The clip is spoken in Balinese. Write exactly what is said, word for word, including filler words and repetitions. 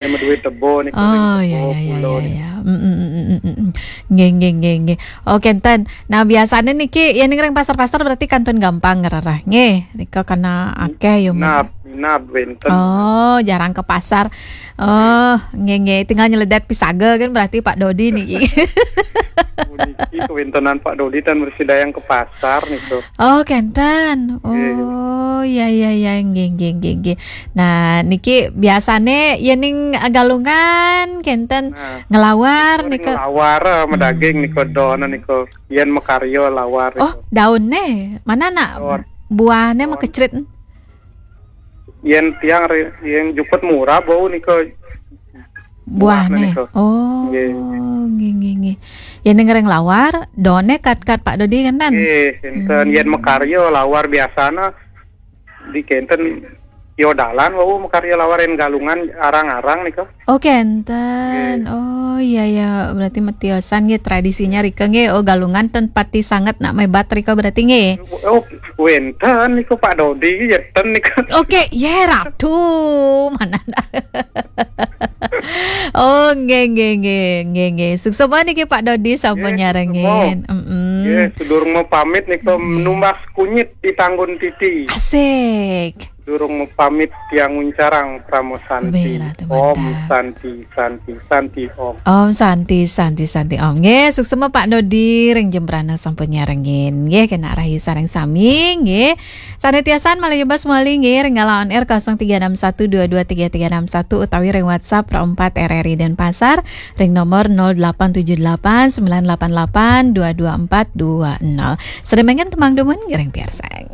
Yang duit tebo niko. Oh, Ring ya, tebo ya, ya, pulo ya, niko. Ya. Mm, mm, mm, mm, mm, mm. Nggih, nggih, nggih, nggih. Oh, kenten. Nah, biasanya niki, ya, ning ring pasar-pasar berarti kantun gampang ngerereh. Nggih, nika karena akeh ya, Mbak. Minab, minab wenten. Oh, jarang ke pasar. Oh, nggih, nggih. Tinggal nyeledet pisaga kan berarti Pak Dodi niki. Puniki kewentenan Pak Dodi dan mesti dayang ke pasar niko. Oh, kenten. Oh, ya, ya, ya, nggih, nggih, nggih, nggih. Nah, niki biasane ya ning Galungan kenten Nah, ngelawar ning niko. Lawar, eh, medaging Hmm. niko, don niko. Yen mekaryo lawar Oh, niko. daunnya mana nak? Daun. Buahnya Daun. mekecrit. Yen tiang re-, yang juput murah bau niko. Buahnya. Niko. Oh, Nggih. Nggih, nggih, nggih. Ya ning ring lawar, daunnya kat-kat Pak Dodi kenten. Eh, enten yen mekaryo lawar biasana di kenten yo dalan wau mekaryo lawar yen Galungan arang-arang niko. Oh, kenten. Oh, iya, iya. Berarti metiosan nggih tradisinya rika nggih. Oh, Galungan ten pati sanget nak mebat rika berarti nggih. Oh, wenten niko Pak Dodi, yeten niko. Oke, ya ratu. Mana dah? Oh, nggih, nggih, nggih, nggih, nggih. Suksma niki Pak Dodi sampun Nggih, nyarengin. Mm-mm. Nggih, sedurung mau pamit niko numbas kunyit di tanggun titi. Asik. Durung mau pamit tiang nguncarang Pramo Santi. Bela teman Om dah. Santi, Santi, Santi, Om. Om Santi, Santi, Santi, Om. Nggih, suksma Pak Dodi ring Jembrana sampun nyarengin. Nggih, kena rahayu sareng sami, nggih. Sane tiosan malih bas mali nggih ring galah on air kosong tiga enam satu dua dua tiga tiga enam satu utawi ring WhatsApp Pro empat R R I Denpasar ring nomor nol delapan tujuh delapan sembilan delapan delapan dua dua empat dua nol. Sedemikian tembang dumun ngiring piarsang.